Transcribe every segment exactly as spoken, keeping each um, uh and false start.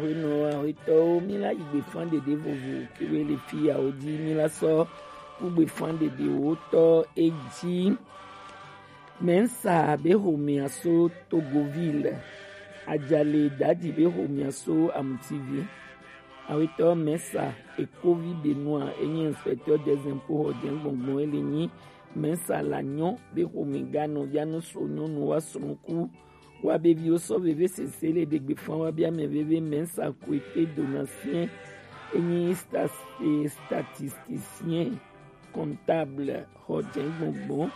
Hwenɔ, ahwetɔwo, mi la yi gbefan ɖeɖe vovo kewe le fi yawo ji, mi la sɔ ku gbefan ɖeɖewo tɔ eji. Mensa be homea so Togoville, Ajale Daji be homea so Amutivi. Awetɔ Mensa Ekovi Benoit enyi inspecteur des impôts hɔjɛngbɔngbɔn ele nyi Mensa la nyɔ be homega nɔ vianu so nyɔnu wa srɔ̃ku wa be viwo sɔ veve sese le ɖegbe fan wa be ame veve Mensa Koete Donatien enyi stas- statisticien comptable hɔjɛngbɔngbɔn.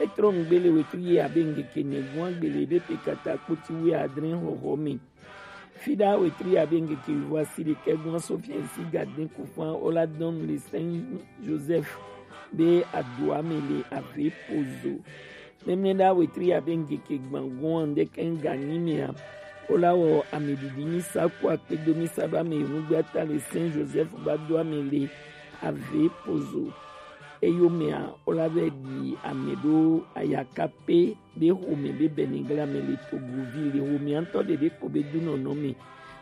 Etrɔ nugbe le wetri ye abe ngeke nɛgun agbele be pe kata kpoti wi adre hɔhɔ mi. Fida wetri abe ngeke wi vɔ asi ɖekɛ gun aso fiɛnsi gaden kufan ola dɔn le Saint Joseph be adoa me le ave pozo. Mɛmlɛ ɖa wetri abe ngeke gbangun ande kɛn ganyi mea. Ola wɔ ame ɖiɖi mi sa ku akpe do mi sa ɖo ame yenu gbe ata le Saint Joseph ba do ame le ave pozo. Eyomea ola vɛ ɖi ame ɖo ayaka pe be home be bɛnigla me le Togoville home antɔ ɖeɖe kpo be dunɔnɔ me.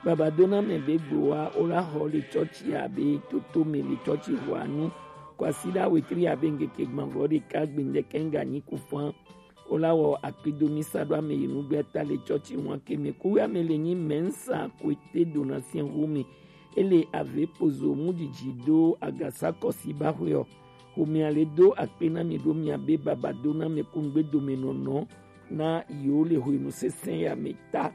Baba dona me be gbowa ola xɔ le tsɔtsi abe toto me le tsɔtsi hɔanu. Kwasi ɖa wetri abe ngeke gbanvɔ ɖeka gbendɛkɛ nga nyi kufan. Ola wɔ akpidomi sa ɖo ame yi nugbe ta le tsɔtsi ŋua ke me. Kuwe ame le nyi Mensa Koete Donatien home. Ele ave pozo mu didi do agasa kɔsi ba hwe ɔ. Homea le do akpe na mi ɖo mia be baba do na me kungbe dome nɔnɔ na yiwo le hwenu sesẽ ya me ta.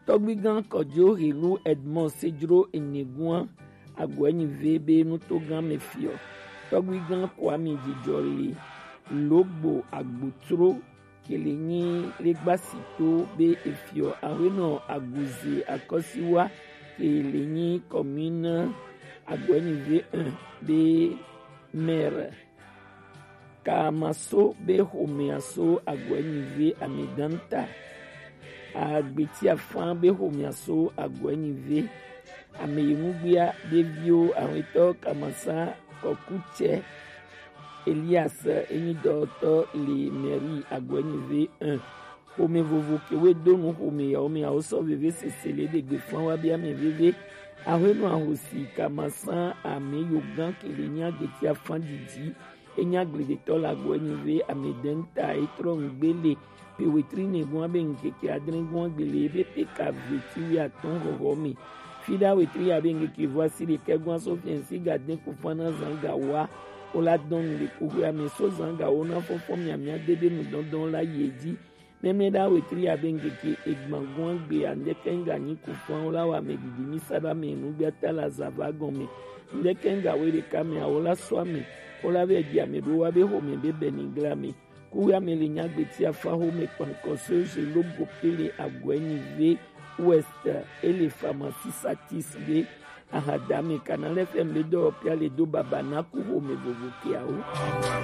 Tɔgbigan Kɔjo Helu Edmond Sedro Enegua Agɔɛnyive be nutogan me fiɔ. Tɔgbigan Kwame Jijɔli Logbo Agbotro kele nyi legbasito be efiɔ awenɔ Aguze Akɔsiwa kele nyi commune Agɔɛnyive un be maire. Kamaso be homea so Agɔɛnyive amedanta. Agbetia fan be homea so Agɔɛnyive. Ame yi nugbea be viwo awetɔ Kamasa Kɔkutsɛ Elias enyi dɔtɔ le mairie Agɔɛnyive un. Xome vovo kewe do nu xome yawo me awo sɔ veve sese le ɖegbe fan wa be ame veve. Ahwenu ahosi Kamasa ame yogan kele nya gbetia fan didi. Enya gbledetɔ la gbɔ enyi ve ame dɛnta etrɔ ŋgbele pe wetri ne gua be ŋkeke adre gua gbele ebe pe ka veti wi atɔn xɔxɔ me. Fida wetri ya be ŋkeke vɔ asi ɖekɛ gua so fiɛnsi ga de kufana zan ga wa. Wo la dɔn nu le kuxu ame so zan ga wo na fɔfɔ miamia dede nu dɔndɔn la yi edzi. Mɛmlɛ ɖa wetri abe ŋkeke egban gɔn gbe andɛkɛ ŋga nyi kufan wo la wa ame didi mi sa ɖo ame nu gbe ata la zava gɔn me. Ŋdɛkɛ ŋga we ɖeka me awo la sɔ ame wo la vɛ di ame ɖo wa be xome be bɛ ni gla me. Kuwe ame le nya gbeti afa xome kpankɔ so je lo go pele agɔɛ ni ve ouest ele pharmacie satis be ahadame kana lɛ fɛ mbe dɔ pia le do baba na ku xome vovo ke awo.